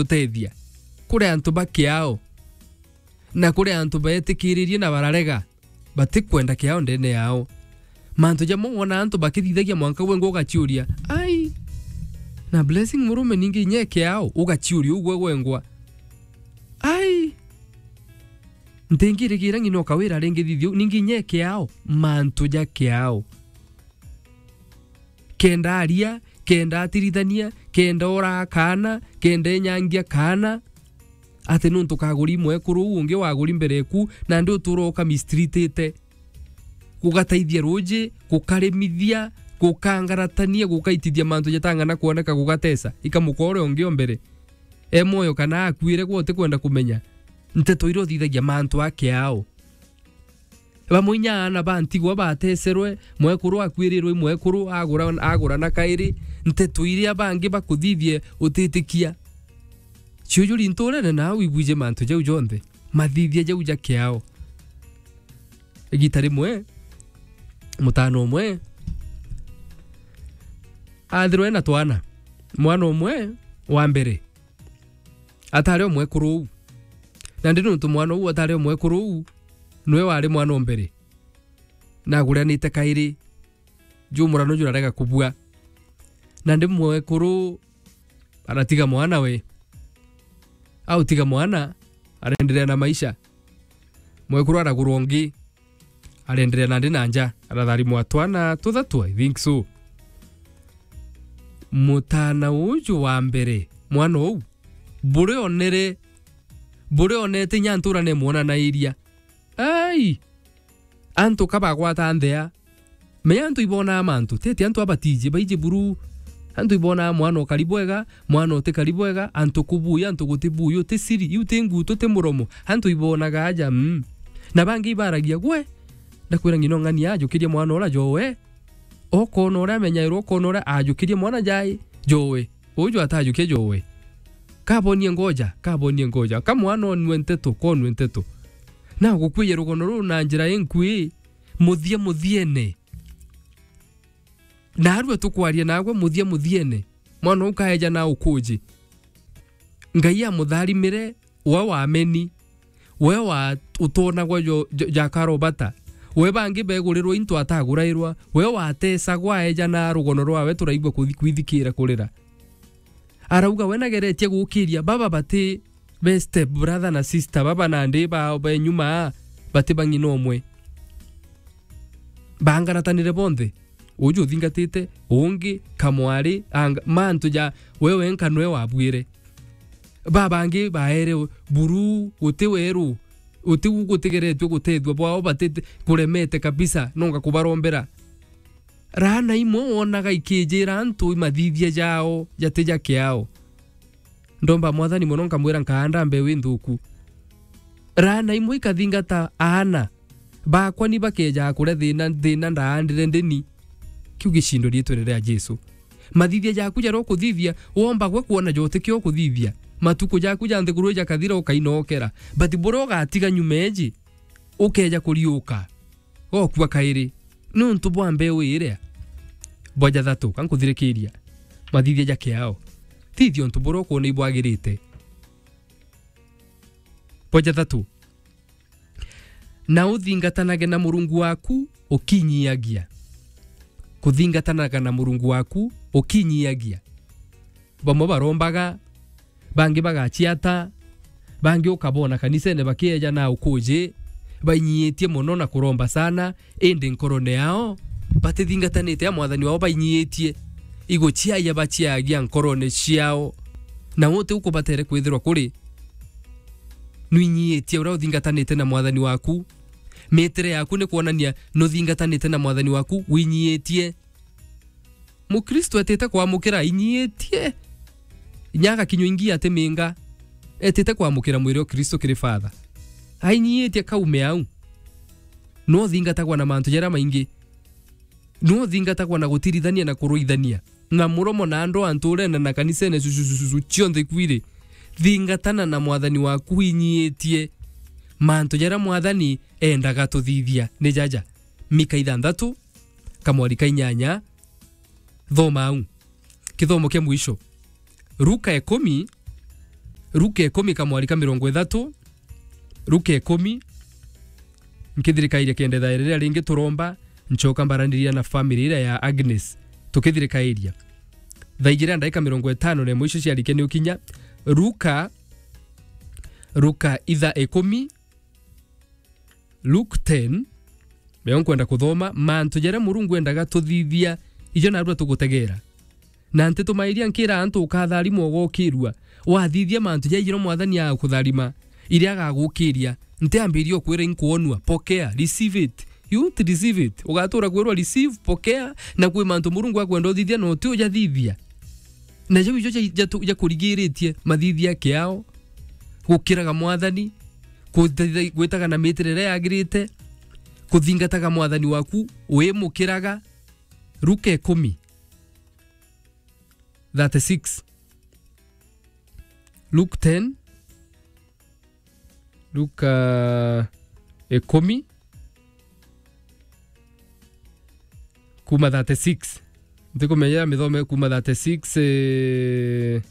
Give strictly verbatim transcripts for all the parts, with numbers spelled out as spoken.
utethia. Kuri antu ba kiao, na kuri antu betikiririe na bararega, batikwenda kiao ndene yao. Mantu jamwe wona antu bakithithagia mwanka gwengwa ugaciuria, "Ai, na Blessing murume ningi inya kiao?" Ugaciuria ugwe gwengwa. Ai, ntingirigira ng'ina ukawira ringi thithio, ningi inya kiao, mantu ja kiao. Kenda aria, kenda atirithania, kenda oraa kaana, kenda enyangia kaana, ati nuntu kaguri mwekuru uu ungi waguri mbere eku, nandi utura ukamistritite, gugataithia ruuji, gukarimithia, gukangaratania, gukaitithia mantu jatang'ana kwoneka, gugatesa, ikamuka uria ungi o mbere. E mwoyo kana akuire gwe utikwenda kumenya. Nteto iria uthithagia mantu a kiao. Bamwe inya aana ba ntigwa batecerwe, mwekuru akwirirwe i mwekuru, agura, agura na kairi, nteto iria bangi bakuthithie utitikia. Ciujuri nturene nau ibwije mantu jau jonthe, mathithia jau ja kiao. Igita rimwe, mutano umwe athirwe na twana. Mwana umwe wa mbere atari o mwekuru uu. Nandi nuntu mwana uu atari o mwekuru uu, niwe wari mwana o mbere. Nagurianite kairi, jumurano jurarega kubua. Nandi mwekuru aratiga mwana we. Autiga mwana, arenderea na maisha. Mwekuru aragurwa ungi, arenderea nandi na nja, aratharimwa twana tuthatu, I think so. Mutana uju wa mbere, mwana uu, buri onere, buri onete inya ntura nemwonanairia. Ai! Antu ka bagwata nthea. Menya antu ibonaa mantu, tete antu abatiji, baiji buru. Antu ibonaa mwana ukari bwega, mwana utikari bwega, antu kubuya, antu guti buya, uti siri, iu ti ngutu, ti muromo. Antu ibonaga aja, mm. Na bangi ibaragia, gwe, ndakwira ng'ina ung'ani ajukirie mwana ura jowe. Okona uria amenyairwo, okona uria ajukirie mwana jai, jowe. Uju atajukia jowe. Kabonie ngoja, kabonie ngoja. Ka mwana onue nteto, konue nteto. Na gukwiye rugono ruu na njira inkui, muthia muthiene. Narua tukwaria nagwe muthia muthiene. Mwana uu kaeja na ukuji. Ngai amutharimire, we wameni. We wa utonagwa jo, jo, ja karobata. We bangi begurirwa into atagurairwa. We watesagwa aeja na rugono rwawe turaigua kuthi-, kwithikira kurira. Arauga we nageretie gukiria, baba bati be step brother na sister, baba nandi bao be nyuma, bati ba ng'ina umwe. Baangaratanire bonthe. Uju uthingatite, ungi, kamwari, anga, mantu ja, we wenka nwe wabuire. Babangi baere buru, guti weru, guti u gutigeretue gutethua bwao, bati kuremete kabisa, nonga kubarombera. Raana imwe wonaga ikijira antu mathithia jao jati ja kiao. Ndomba Mwathani mono, nkamwira, nkaanda mbeu inthuku. Raana imwe ikathingata aana bakwa ni bakeejaga kuria thina, thina ndaandire ndini. Kiu gicindo riitwene ria Jesu. Mathithia jaku jaria ukuthithia, womba gwe kwona jo utikio ukuthithia. Matuku jaku ja nthiguru jakathira, ukainokera. But buria ugatiga nyuma eji, ukeeja kuriuka. Gokua kairi. Niuntu bwa mbeu iria. Bwa jathatu, ka nkuthirikiria. Mathithia ja kiao. Thithia untu buria ukwona ibwagirite. Bwa jathatu. Na uthingatanage na Murungu waku ukinyiagia. Kuthingatanaga na Murungu waku ukinyiagia. Bamwe barombaga, bangi bagaciata, bangi ukabona kanisene bakieja na ukuji, bainyiitie mono na kuromba sana, indi nkorone yao batithingatanite a mwathani wao, bainyiitie. Iguciaia baciagia nkorone ciao, na uti ukubatere kwithirwa kuri. Nwinyiitie uria uthingatanite na mwathani waku. Mitire yaku ni kwonania nuthingatanite na mwathani waku, winyiitie. Mukristo etite kwamukira ainyiitie. Inya agakinywa ingi atiminga. Etite kwamukira mwiri o Kristo kiri Father. Ainyiitie kaume au. No uthingatagwa na mantu jaria maingi. No uthingatagwa na gutirithania na kuruithania. Na muromo na andu anturene na kanisene cucucucu cionthe kwiri. Thingatana na mwathani waku inyiitie. Mantu jaria mwathani endaga tuthithia ni jaja. Mika ithanthatu, kamwari ka inyanya, thoma au. Kithomo kia mwisho. Luka ikumi, Luka ikumi kamwari ka mirongo ithatu, Luka ikumi, nkithirikairia kenda ithaa riria ringi turomba, ncoka mbaraniria na family iria ya Agnes, tukithirikairia. Thaa ijiri na ndagika mirongo itano na imwe icio ciarikia ni ukinya, Luka, Luka ithaa ikumi, Luke ten, nio nkwenda kuthoma, mantu jaria Murungu endaga tuthithia, ijo narua tugutegera. Na ntitumairia nkira antu ukatharimwa ugokirua, wathithia mantu jaijiro Mwathani agakutharima, iria agagukiria, ntiambiria ukwira inkwonua, pokea, receive it. You won't receive it. Ugatura kwirwa receive, pokea, na kwi mantu Murungu akwenda uthithia na uti ujathithia. Na jau ijo ja, ja, jakurigiritie mathithia kiao, gukiraga Mwathani, kuthi-, gwitaga na mitirire yagirite, kuthingataga Mwathani waku wimukiraga. Luka ikumi, thirty-six. Luke ten, Luka ikumi, kuma thirty-six. Ntikumenya mithome kuma thirty-six, eh,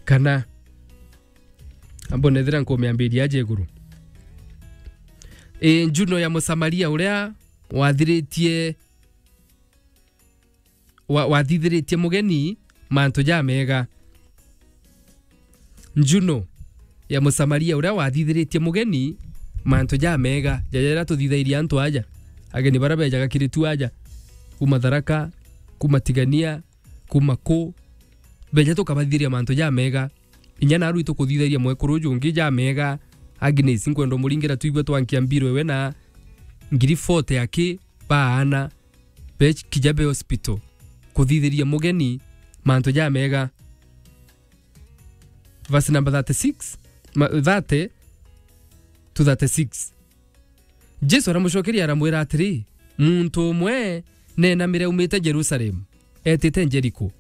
kana ambo nethira nkumiambiria aja iguru. Eh, Juno ya Musamaria uria wathiritie wa-, wathithiritie mugeni mantu jamega. Juno ya Musamaria uria wathithiritie mugeni mantu jamega, jaja jaria tuthithairie antu aja, ageni baria bejaga kiri tu aja, kuma Tharaka, kuma Tigania, kuma ku, beja tukabathithiria mantu jamega. Inya naru itukuthithagia mwekuru uju ungi jamega, Agnes, nkwenda umuringira twigwe twankia mbiro iwe na ngiri forty aki baana, be kija be hospital, kuthithiria mugeni mantu jamega. Verse number thirty-six, ma-, thirty to thirty-six. Jesu aramucokeria aramwira atiri, "Muntu umwe neenamire aumite Jerusalemu, etite Jeriko.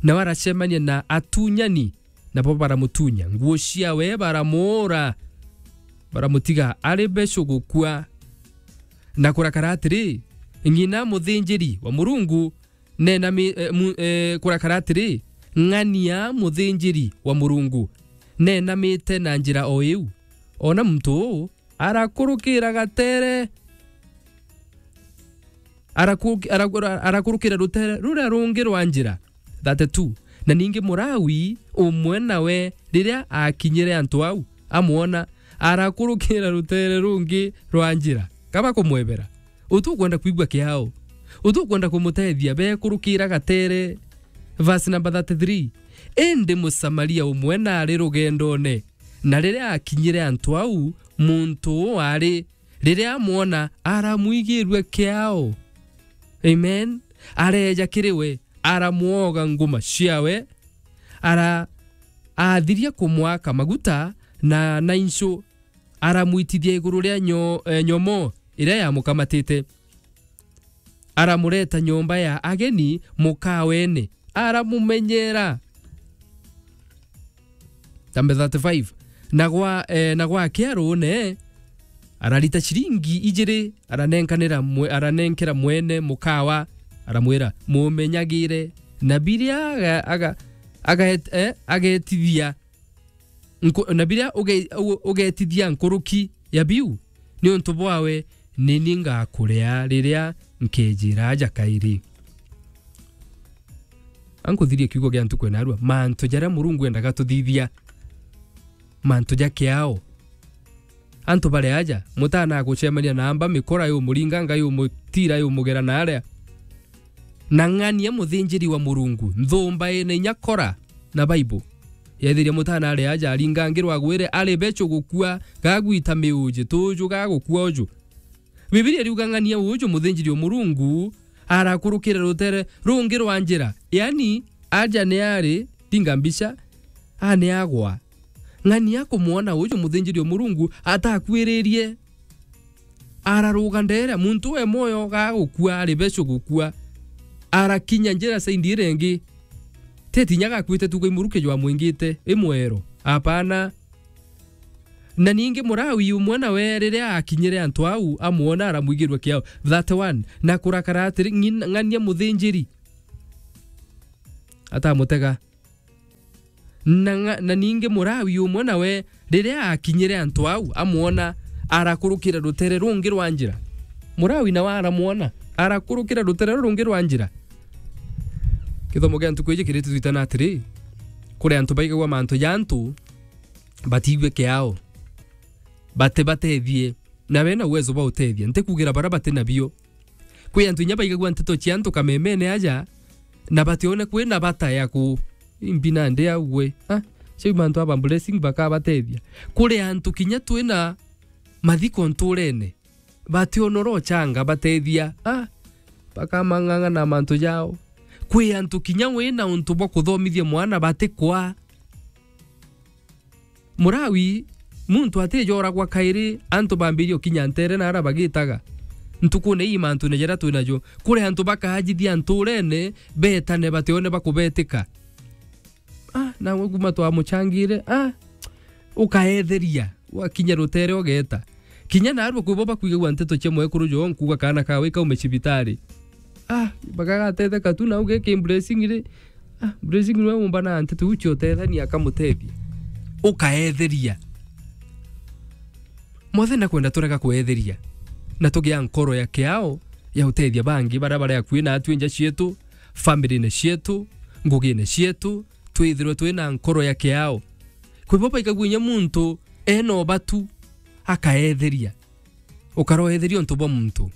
Nawe aracemania na atunyani, nabo baramutunya nguo ciawe, baramuura, baramutiga ari becu gukua. Na kurakara atiri, ng'ina muthinjiri wa Murungu neenami-, eh, mu-, eh, kurakara atiri, ng'ania muthinjiri wa Murungu neenamite na njira o iu. Ona muntu uu arakurukira gatere, araku-, araku-, arakurukira rutere ruria rungi rwa njira." Thirty-two. Na ningi Murawi umwe nawe, riria aakinyire antu au, amwona, arakurukira rutere rungi rwa njira. Kaba kumwebera, utukwenda kwigua kiao, utukwenda kumutethia, bekurukira gatere. Verse number thirty-three. Indi Musamaria umwe naari rugendone, na riria aakinyire antu au, muntu uu aari, riria amwona, aramwigirua kiao. Amen. Areeja kiri we, aramwoga nguma ciawe, ara-, aathiria kumwaka maguta na, na incu, aramwitithia iguru ria nyo-, eh, nyomo iria yamukamatite. Aramureta nyomba ya ageni mukaweene, aramumenyera. Tambe thirty-five. Na gwa, eh, na gwakia ruune, ararita ciringi ijiri, aranenkanira mwe-, aranenkera mwene mukawa, aramwira, "Mumenyagire, na biria aga-, aga-, agaet-, eh, agetithia nku-, na biria uge-, u-, ugetithia nkuruki ya biu, niuntu bwawe, ni ni ngakuria riria nkejira aja kairi." Ankuthirie kiugo gia ntuku ina arua, mantu jaria Murungu endaga tuthithia, mantu ja kiao. Antu bari aja, mutana agucemania na amba, mikora yumuringa, ngai yumutira, yumugera na aria. Na ng'ania muthinjiri wa Murungu, nthumba ina inya Kora na Bible. Yethiria mutana ari aja, aringangirwa agwire, ari becu gukua, gagwita miuji, tuju gagukua uju. Bibilia iriuga ng'ania uju muthinjiri wa Murungu arakurukire rutere rungi rwa njira. Yani, aja ni ari, tinga mbica, a ni agwa. Ng'ania kumwona uju muthinjiri wa Murungu atakwiririe. Araruga ndeere, muntu we mwoyo gagukua, ari becu gukua. Arakinya njira saindi iria ingi. Ti tinya gakuite tu, kai muruki jwamwingite, i mwero. Apana. Na ningi Murawi umwe nawe, riria akinyire antu au, amwona, aramwigirua kiao. Thirty-one. Na kurakara atiri, ng'in-, ng'ania muthinjiri atamutega. Na nga-, na ningi Murawi umwe nawe, riria akinyire antu au, amwona, arakurukira rutere rungi rwa njira. Murawi nawe aramwona, arakurukira rutere rungi rwa njira. Kithomo kia ntuku iji kiritutwitana atiri, kuri antu baigagua mantu ja antu, batiigue kiao, batibatethie, na bena uwezo bwa utethia. Ntikugira bara bati nabio. Kwi antu inya baigagua nteto cia antu kamemene aja, na batione kwina bata ya ku-, imbi nandi au gwe. Ah, cia mantu aba blessing bakabatethia. Kuri antu kinya twina mathiko nturene, bationora uchanga batethia. Ah, bakamang'ang'ana na mantu jao. Kwi antu kinya wina untu bwa kuthomithia mwana batikwa. Murawi, muntu atijoragwa kairi, antu bambirie ukinya ntere na ara bagitaga. Ntukune ii mantune jaria twinajo, kuri antu bakajithia nturene, betane batione bakubetika. Ah, nawe kuma twamuchangire, ah, ukaetheria, wakinya rutere ugeta. Kinya narua kwibo bakwigagua nteto cia mwekuru jo nkuga kana kawe kaume cibitari. Ah, bakagatetheka tu na uge ki blessing ri. Ah, blessing nwe umba na nteto ucio utethania akamutethia. Ukaetheria. Mothe na kwenda turega kuetheria. Na tugia nkoro ya kiao ya utethia bangi bara bare akui na atwi nja cietu, family-ne cietu, ngugine cietu, twithirwe twina nkoro ya kiao. Kwibo baigagua inya muntu ena ubatu akaetheria. Ukaroetheria untu bwa muntu.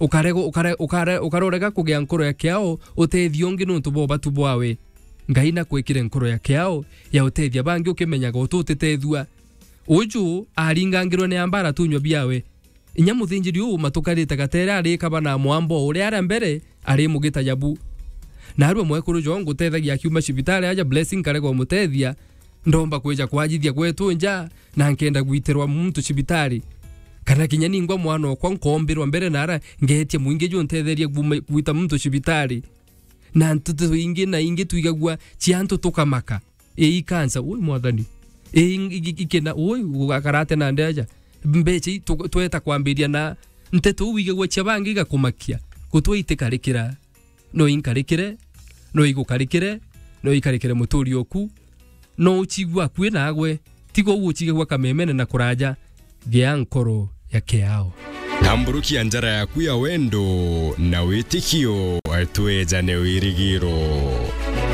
Ukarego-, ukare-, ukare-, ukarorega kugia nkoro ya kiao utethia ungi nuntu bwa ubatu bwawe. Ngai nakwikire nkoro ya kiao ya utethia bangi ukimenyaga utu utitethua. Uju aringangirwe ni ambara tunywa biawe. Inya muthinjiri uu matukarite gatere arikaba na mwambo uria aria mbere ari mugita jabu. Narua mwekuru jo ngutethagia akiuma cibitari aja blessing karega umutethia. Ndomba kwija kwajithia gwetu nja, na nkenda gwitirwa muntu cibitari. Kana kinya ningwa mwana okwa nkombirwa mbere nara ngetia mwingi ju ntetherie gwita muntu cibitari. Na nteto ingi na ingi twigagua cia antu tukamaka. Ii kansa, ui mwathani. Ii ikena, ui gugakarate na ndeja. Mbecha ii tu-, tweta kwambiria na nteto uu wigagua cia bangi igakumakia. Gutwa itikarikira. No inkarikire, no igukarikire, no ikarikire muturi oku, no uchigua akui nagwe, tiga uu uchigagua kamemene na kuraja, gea nkoro ya kiao. Tamburukia njara yaku ya wendo na witikio, twejane wirigiro.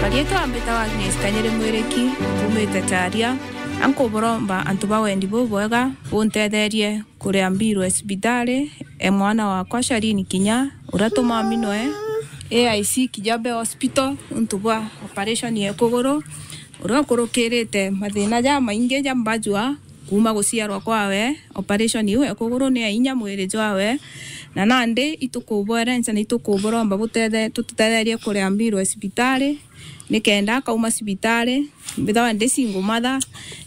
Marietwa mbitawa Agnes Kanyere Mwiriki, kumite Taria, ankuburomba antu ba wendi bubwega buntetherie kuria mbiru ya cibitari, e mwana wakwa Shalini Kinya, uria tumaminwe A I C Kijabe Hospital, untu bwa operation ya kuguru, uria ukurukirite mathina jamaingi ja mbajua kuma guciarwa kwawe. Operation iu ya kuguru ni ya inya mwiri jwawe, na nandi itukubwerenca na itukuburomba butethe-, tututetherie kuria mbiru ya cibitari, nikenda akauma cibitari, mbithawa ndi single mother,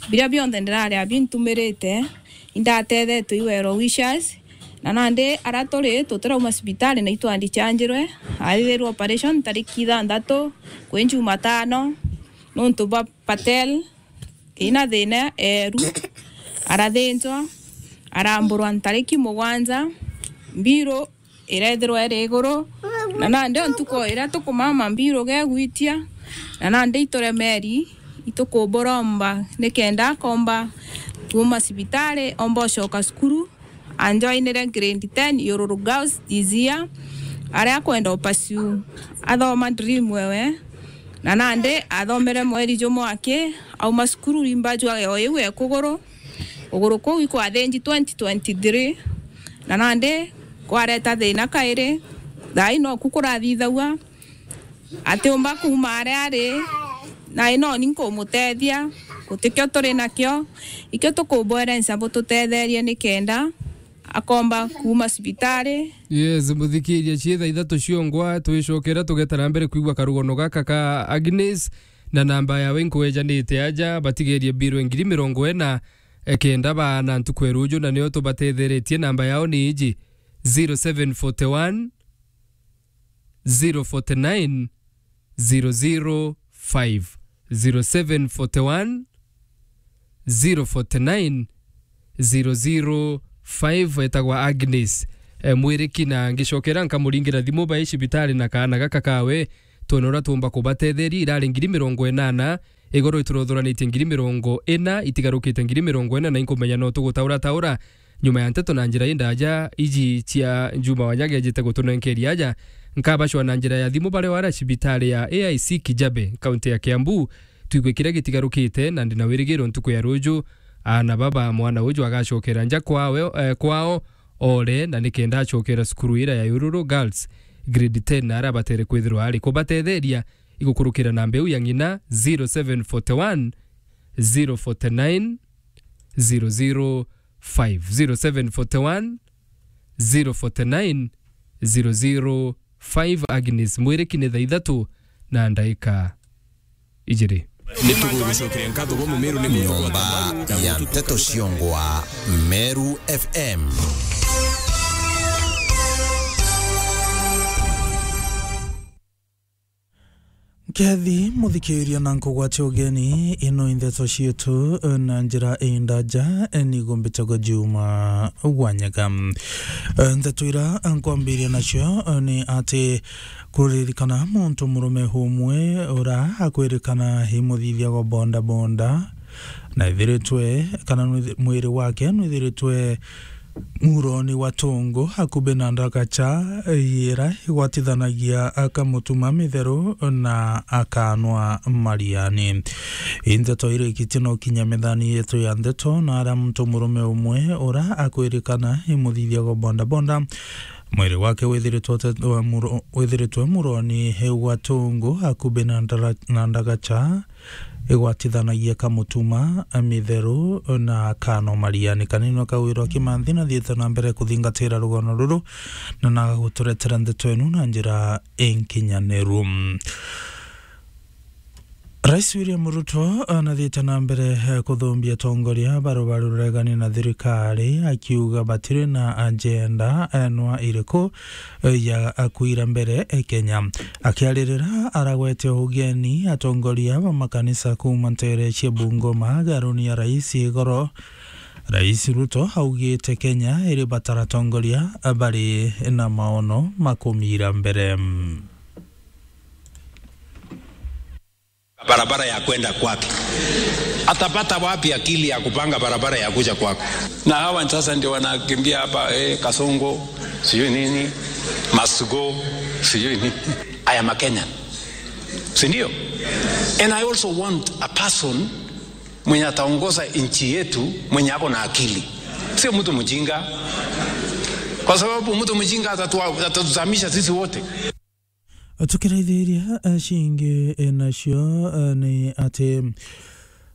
biria bionthe ndiraria bintumirite, indatethetwe i well wishers, na nandi aria turi tutirauma cibitari na itwandichanjirwe, athithirwe operation tariki ithanthatu kwi Jumatano, nuntu bwa Patel ina thina eru, arathinjwa, aramburwa ntariki mugwanja, mbiru irethirwa iri iguru, na nandi o ntuku iria tukumama mbiru gegwitia, na nandi ituremeri, itukuburomba nikenda akomba kuuma cibitari, omba ucoka cukuru, anjoinire grade ten Yururu Girls this year, aria akwenda upursue athoma dream ewe, na nandi athomere mweri jumwe aki, auma cukuru rimba jwa o iu e kuguru, kuguru kuu ikwathinji twenty twenty-three, na nandi kwareta thina kairi, thaai noku kurathithagua, atiumba kuuma aria ari, na inoni nkumutethia, gutikio turi nakio, ikio tukubwerenca bututetherie nikenda akomba kuuma cibitari. Yes, muthikiria, ciitha ithatu ciongwa, twicokera tugeta na mbere kwigua karugono gaka ka Agnes, na namba yawe nkwejanite aja, batigerie mbirwe ngiri mirongo ina, e, kenda baana ntuku ya ruju, na nio tubatetheretie. Namba yao ni iji, zero seven forty one, zero forty nine, zero zero five, zero seven forty one, zero forty nine, zero zero five, etagwa Agnes, e, Mwiriki, na ngicokera nkamuringira thimu bai cibitari na kaana gaka kawe, twone uria tuumba kubatetheria. Irari ngiri mirongo inana, Igoro ituruthuranitie ngiri mirongo ina, itigarukite ngiri mirongo ina, na inkumenya no tugutaura taura nyuma ya nteto na njira indaja iji cia Juma Wanyaga ejite gutunenkeria aja. Nkabacwa na njira ya thimu baria wara cibitari ya A I C Kijabe, kaunti ya Kiambu. Twigue kiria gitigarukite, na ndina wirigiro ntuku ya ruju, aana baba mwana uju agacokera nja kwawe, eh, kwao, ore, na nikenda acokera cukuru ira ya Ururu Girls, grade ten, na aria abatere kwithirwa ari kubatetheria igukurukira na mbeu ya ng'ina zero seven forty one, zero forty nine, zero zero five, zero seven forty one, zero forty nine, zero zero five. Agnes Mwiriki ni thaa ithatu na ndaika ijiri. Ni tugugucokeria nkatho bwa Mumiru ni nyomba ya nteto ciongwa Meru F M. Nkethi muthikiria na nkugwatia ugeni, ino i ndeto cietu na njira indaja, nigo mbitagwa Juma Wanyaga. Ndeto ira nkwambiria nacio ni ati kuririkana muntu murume umwe ura akwirikana i muthithia wa boda boda, na ithiritwe, kana nwithi-, mwiri wake nwithiritwe muroni wa tungu, akubi na ndagacha ira igwatithanagia akamutuma mitheru na akanwa mariani. Indeto irikitie no kinya methani yetu ya ndeto, na aria muntu murume umwe ura akwirikana i muthithia wa boda boda, mwiri wake withiritwe utete-, muro-, withiritwe muroni wa tungu, akubi na ndara-, na ndagacha igwatithanagia kamutuma, mitheru na kano mariani. Kanini akawirwa Kimanthi na thiete na mbere kuthingatira rugono ruru, na na guturetera ndeto enu na njira inkinyaniru. Rais William Ruto anathiite na mbere, eh, kuthumbia atongoria baria baruregani na thirikari, akiuga batiri na agenda, eh, nwa iriku, eh, ya kuira mbere, eh, Kenya. Akiaririra aragwete ugeni atongoria ba makanisa kuuma ntere cia Bungoma, garuni ya rais igoro, Rais Ruto augite Kenya iri batara atongoria bari na maono ma kumira mbere. Barabara ya kwenda kwake. Atapata wapi akili ya kupanga barabara ya kuja kwako? Na hawa sasa ndio wanakimbia hapa, eh, Kasongo, sijui nini, must go, sijui nini. I am a Kenyan. Si ndio? And I also want a person mwenye ataongoza nchi yetu mwenye ako na akili. Sio mtu mjinga. Kwa sababu mtu mjinga atatua-, atatuzamisha sisi wote. Tukiraithiria, eh, cingi, eh, nacio, eh, ni ati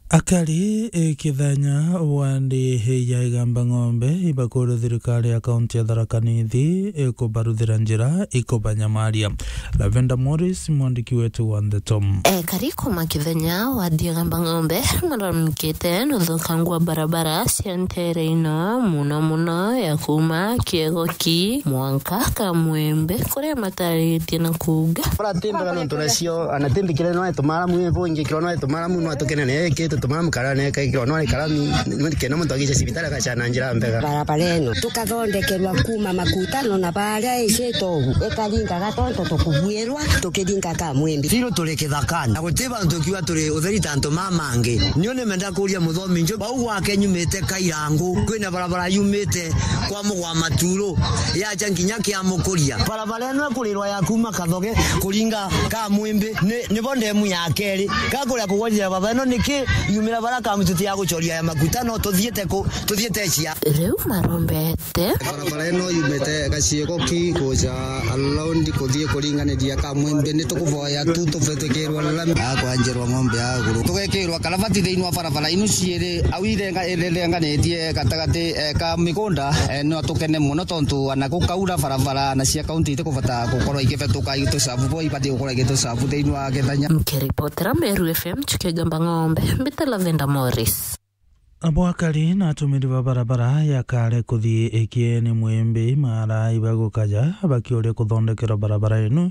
akari, eh, kithenya wandi, eh, ya Igamba Ng'ombe ibakuru thirikari ya kaunti ya Tharaka Nithi, eh, kubaruthira njira ikubanyamaria. Lavenda Morris, mwandiki wetu wa ndeto. Ekari kuma kithenya wandi ya Igamba Ng'ombe maramikite nuthukangu wa barabara cia ntere ino, muno muno ya kuma Kiegoki mwanka Kamwembe, kuria mataritie na kuuga. Baratembera nontu nacio, anatembikire no etumaramu, ibo ingikirwa no etumaramu, no atukene ne eke tutumaramu kara ne eke kirwa no karami, kena muntu agije cibitari agacana njira mbega. Barabara ino tukathondekerwa kuma Makutano na baria icito ugu, ikaringaga tonto tukubuirwa tukiringa Kamwembe. Tiru turi kithakani, na guti bantu kiuga turi utheri ta antu mama angi. Nio nimenda kuria muthomi njo, bau gwake nyumite Kairangu, kwina barabara yumite kwa Mugwa Maturu, yacha nginya kia Mukuria. Barabara ino ikurirwa ya kuma Kathoge kuringa Kamwimbi, ni, nibo ndemu ya keri. Gakuria kugwatira barabara ino niki yumira bara kamituti ya gucoria ya maguta, no tuthiite ku, tuthiite cia. Riu marombete. Barabara ino yumite Gaciego ki kuja Laundi kuthii kuringaniria Kamwimbi, ni tukuvoya tu tubithikirwa lami. Akwanjirwa ng'ombe ya guru. Tugekirwa karavati thiini wa barabara inu ciiri, au irenga-, irenganitie gatagati, eh, ka migunda, eh, no tukene muno tontu ana gukaura barabara na cia kaunti itikubata gukorwa igibatuka itucabu bo ibati gukorwa igitucabu thiini wa Kithanya. Nkiripotera Meru F M, Chukegamba Ng'ombe, mbite Lavenda Morris. Abo akari na atumiri ba barabara ya Kare kuthii Ikieni Mwimbi mara ibagukaja bakiuria kuthondekerwa barabara inu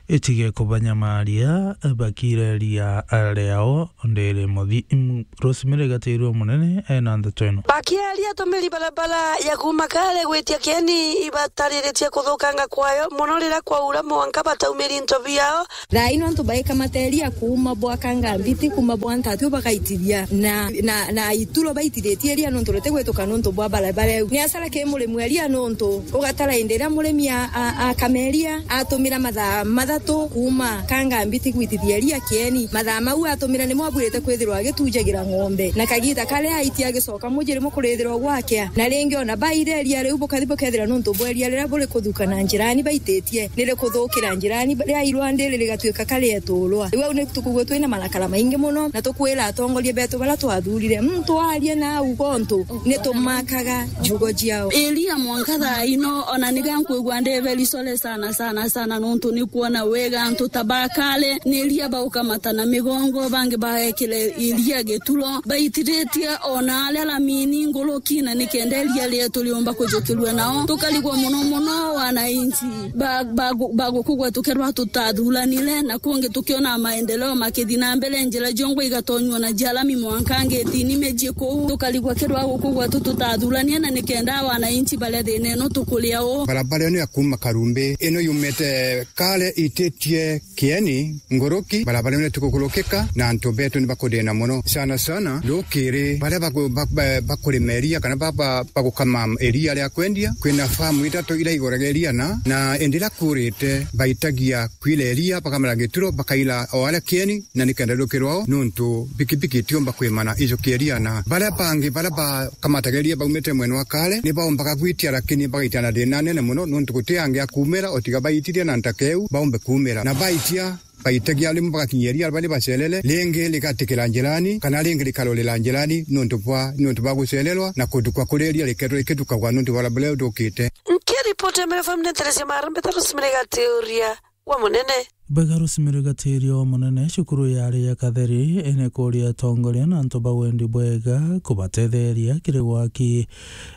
Itige kubanyamaria, bakireria riao ndiri muthi. Mm, Rosemary Gatiru Munene ena ndeto ino. Bakiaria atumiri barabara ya kuuma Kale gwitia Kieni ibatariritie kuthukanga kwayo mono riria kwaura mwanka bataumiri into biao. Thaa ino antu baikamateria kuuma bwa Kangambiti, kuuma bwa Ntatio bagaitithia na, na, na ituro baitithitie iria nontu ritigwituka nontu bwa barabara iu. Ni asara ki murimi wa iria nontu ugatara indi iria murimi a, a, akameria atumira mathaa mathatu kuuma Kangambiti gwitithia iria Kieni. Mathaa mau atumira nimo abwirite kwithirwa agitujagira ng'ombe. Na kagita karia aitia agicoka muji rimo kurithirwa gwakea. Na ringi ona baire iria riu bukathi bukethira nontu bwa iria riria buri kuthuka na njirani baititie, nirikuthukira njirani, riairwa ndiri rigatuika karieturwa. Riu au ni tukugua twina marakara maingi muno, na tukwira atongoria betu baria twathurire, muntu arie na au gontu, nitumakaga njugo ciao. Iria mwanka thaa ino, ona niga nkwigua ndi very sorry sana, sana, sana, nontu ni kwona wega antu ta ba Kale, ni iria baukamata na migongo, bangi baekire iria gituro, baitiritie ona aria lamini nguruki, na nikenda iria rietu riumba kujukirua nao. Tukarigwa muno muno wananchi ba, ba, bagukugwa tukerwa tutathuranire, na kungi tukiona maendeleo makithi na mbere, njira ciongwa igatonywa na cia lami mwanka ngetini micii kuu. Tukarigwa kirwa gukugwa tu tutathurania, na nikenda wananchi baria thina ino tukuria uu. Barabara ino ya kuuma Karumbi, ino yumite Kale ititie Kieni nguruki, barabara ino itikukurukika, na antu betu ni bakuthina muno. Sana sana, rukiri, baria baku-, ba-, ba-, bakurima iria kana ba-, ba-, bagukama iria ria kwendia, kwina famu ithatu iria iguraga iria na, na indi iria kuurite, baitagia kwira iria, bakamara gituro, bakaira o aria Kieni, na nikenda riukirwa o, nontu pikipiki itiumba kwimana ijukia iria, na baria bangi, baria bakamataga iria baumite mwena wa Kale, ni baumbaga gwitia, lakini bagaita na thina nene muno, nontu guti angi a kuumira, o tiga baitithia na ntaka iu, baumbe kuumira. Na baitia, baitagia rimwe bagakinyia iria bari bacerere, ringi rigatikira njirani, kana ringi rikarorera njirani, nontu bwa, nontu bwa gucererwa, na kuthukwa kuria iria rikethirwa rikithukagwa nontu bwa barabara iu ithukite. Nkiripoti ya Meru F M ni Teresia Marambe, ta Rosemary Gatiuria wa Munene. Bega Rosemary Gatiuria wa Munene, cukuru yari ya Katheri, ene kuria atongoria na antu ba wendi bwega kubatetheria kiri gwaki,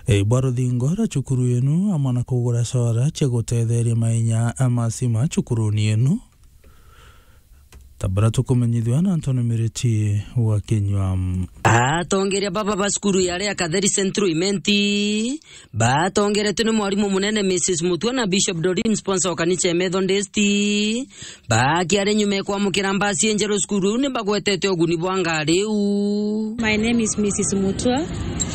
e, bwa ruthingo rwa cukuru inu, amwe na kugura solar cia gutetheria mainya ma stima cukuruni inu. Ta baria tukumenyithua na Anthony Miriti wa Kinyua. Atongeria baba ba cukuru ya Area Katheri Central Imenti batongeretwe ni mwarimu munene Missus Mutua na Bishop Doreen, sponsor wa kanisa ya Methodist, bakiari nyuma ya kwamukira mbasi injeru cukuru iu, ni bagwetete uguni bwa ngari iu. My name is Missus Mutua,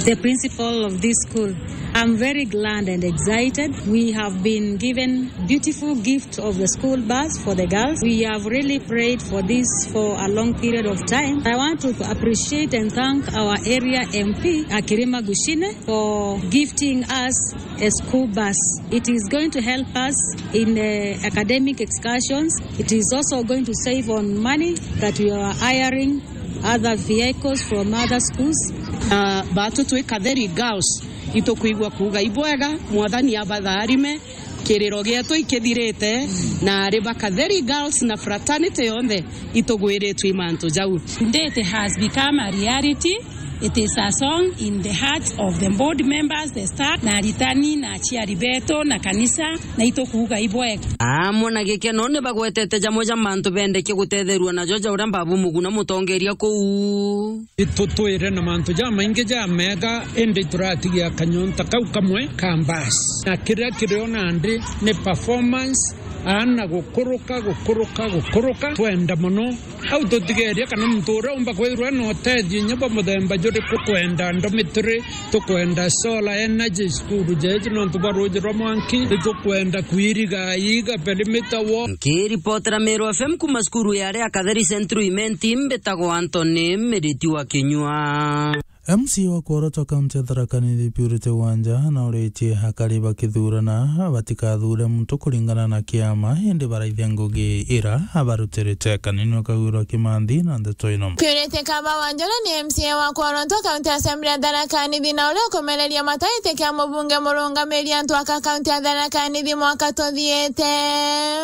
the principal of this school. I'm very glad and excited. We have been given beautiful gift of the school bus for the girls. We have really prayed for this for a long period of time. I want to appreciate and thank our area M P, Akirima Gushine, for gifting us a school bus. It is going to help us in, uh, academic excursions. It is also going to save on money that we are hiring other vehicles from other schools. Ah, batu twi Katheri girls, itukwigua kuuga ibwega, Mwathani abatharime, kiriro gietu ikithirite, na ari ba Katheri girls na fraternity yonthe itugwiritwe i mantu jau. Today it has become a reality. It is a song in the hearts of the board members, the staff, na aritani, na aciari betu, na kanisa, na itukuuga ibwega. Amwe na gikeno ni bagwetete jamwe ja mantu bendekie gutetherua najo ja uria Babu Muguna mutongeria kuu. Itutwire na mantu jamaingi jamega, indi turatigia kanyonta kau kamwe ka mbasi. Na kiria kirio nandi ni performance, aana gukuruka, gukuruka, gukuruka. Twenda mono. Au tutigeria kana muntu uria umba kwithirwa ena utethio inya bwa muthemba juriku, tukwenda dormitory, tukwenda solar energy cukuru jeeji nontu bwa ruuji rwa mwanki, nitukwenda kwiriga iga perimeter wall. Nkiripotera Meru F M kuma cukuru ya Area Katheri Central Imenti, mbitagwa Anthony Miriti wa Kinyua. M C A wa Kworotwa kaunti ya Tharaka Nithi Purity Wanja nauritie akari bakithurana batikathure muntu kuringana na kiama, indi baraithia ngugi ira abarutirite. Kanini Kagwirwa Kimanthi na ndeto ino. Purity Kaba Wanjala ni M C A wa Kworotwa kaunti ya Assembly ya Tharaka Nithi na uria ukumereria mata giti kia mubunge murungamiri antu aka kaunti ya Tharaka Nithi mwaka tuthiite.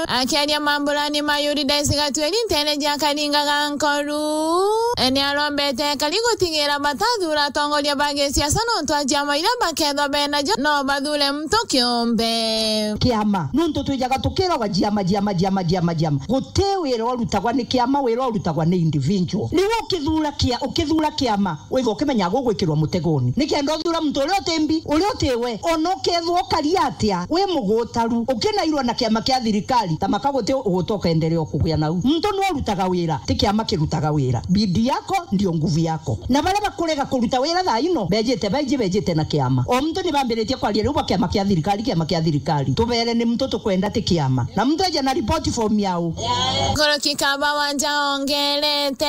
Akiaria mamburani ma Yuridaisi Gatweri nteere ja Karinga ga Nkoru, Ni arombete ekari gutigira batathura atongoria ba gisiasa nontu a ciama iria bakethwa benacio no bathure muntu kiumbe. Kiama. Nontu twijaga tukiragwa ciama, ciama, ciama, ciama, ciama. Guti wira urutagwa ni kiama, wira urutagwa ni individual. Ni ukithura kia-, ukithura kiama, withwa ukimenyaga ugwikirwa mutegoni. Nikenda uthura muntu uria uti mbi, uria uti we, ona ukethwa ukaria atia, wi mugutaru, ukinairwa na kiama kia thirikari, ta maka guti uguta ukenderea kugia nau. Muntu ni urutaga wira, ti kiama kirutaga wira. Bidii yako ndio nguvu yako. Na baria bakurega kuruta wira thaa ino, bejite, baiji bejite na kiama. O muntu ni bambiritie kwaria riu ba kiama kia thirikari, kiama kia thirikari. Tubere ni muntu tukwenda ti kiama. Na muntu eja na report form yao. Nkuruki kaba wanja ongerete.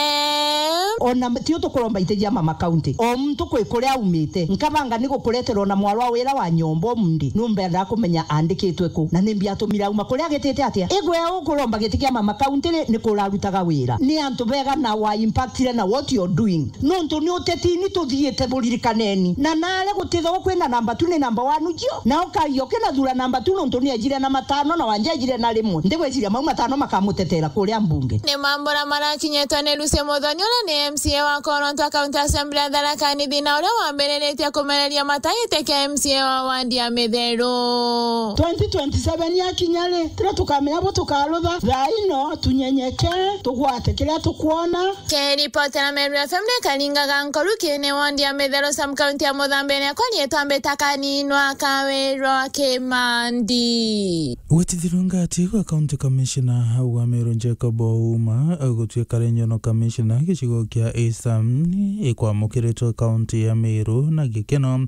Ona tio tukuromba iti cia mama county. O muntu kwi kuria aumite. Nkabanga ni gukuretera ona mwarwa wira wa nyomba umundi. Numbenda kumenya andikitwe ku. Na nimbi atumire auma kuria agitite atia? Igwe ukuromba giti kia mama county ri, ni kurarutaga wira. Ni antu bega na wa impactire na what you're doing. Nontu ni uteti ni tuthiite buririkaneni. Na nare gutithagwa kwina namba two ni namba one cio. Na ukagia ukinathura namba two nontu ni ejire na matano na wanja ejire na rimwe. Ndigweciria mau matano makamutetera kuria mbunge. Ni mambura marakinyitwe ni Lucy Muthoni uria ni M C A wa Koronto County Assembly ya Tharaka Nithi na uria wambiriritie kumereria matagite kia M C A wa wandi ya Mitheru. Twenty twenty-seven yakinya ri, tira tukamenya bu tukarutha. Thaa ino tunyenyeke, tugwate kiria tukwona. Kiripotera Meru F M ni Karinga ga Nkoruki ni wondi ya Mitheru sub county ya Muthambe ni akwa rietwa mbita Kaninwa Kawirwa Kimandi. Gwitithirwa ngati gwa county commissioner wa Meru Jacob Ouma gutwika regional commissioner gicigo kia Eastern ikwamukiritwe county ya Meru na gikeno.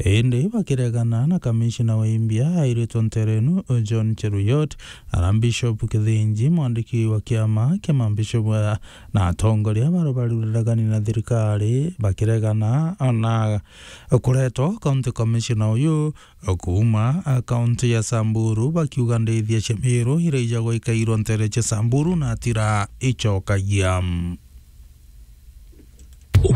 Indi bakiregana na commissioner wa Imbia airitwe nterenu John Cheruyot, Archbishop Kithinji, mwandiki wa kiama kia mabishop, eh, na atongoria baria bari uregani na thirikari bakiregana na kuretwa county commissioner uyu kuuma, eh, county ya Samburu, bakiuga ndithia cia Meru iria ijagwa ikairwa ntere cia Samburu na atira icokagia.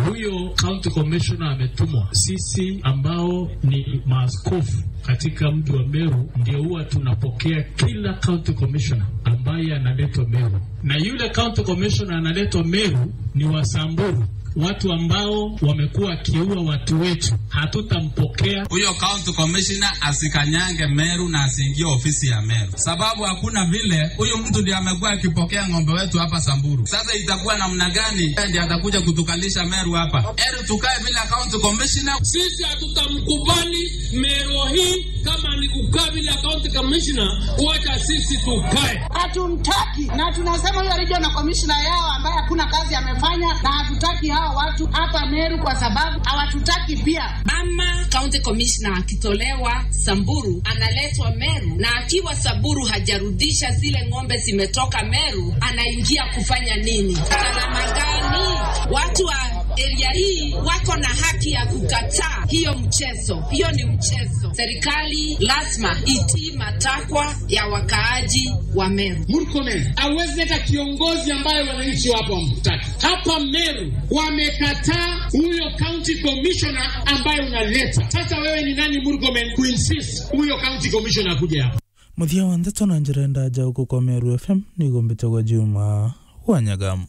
Huyo county commissioner ametumwa. Sisi ambao ni maaskofu katika mji wa Meru ndio huwa tunapokea kila county commissioner ambaye analetwa Meru. Na yule county commissioner analetwa Meru ni wa Samburu, watu ambao wamekuwa wakiua watu wetu. Hatutampokea. Huyo county commissioner asikanyange Meru na asiingie ofisi ya Meru. Sababu hakuna vile, huyu mtu ndiye amekuwa akipokea ng'ombe wetu hapa Samburu. Sasa itakuwa namna gani ndiye atakuja kutukalisha Meru hapa? Heri tukae bila county commissioner. Sisi hatutamkubali Meru hii kama ni kukaa bila county commissioner, wacha sisi tukae. Hatumtaki, na tunasema huyo regional commissioner yao ambaye hakuna kazi amefanya, na hatutaki hao watu hapa Meru kwa sababu hawatutaki pia. Mama county commissioner akitolewa Samburu, analetwa Meru, na akiwa Samburu hajarudisha zile ng'ombe zimetoka Meru, anaingia kufanya nini? Salama gani? Watu wa area hii wako na haki ya kukataa hiyo mchezo. Hiyo ni mchezo. Serikali lazima itii matakwa ya wakaaji wa Meru. Murkomen hawezi leta kiongozi ambaye wananchi wapo wamtaki. Hapa Meru wamekataa huyo county commissioner ambaye unaleta. Sasa wewe ni nani, Murkomen, kuinsist huyo county commissioner akuje hapa? Muthia wa ndeto na njira ndaja uku kwa Meru F M ni gumbite gwa Juma wa Nyagamu.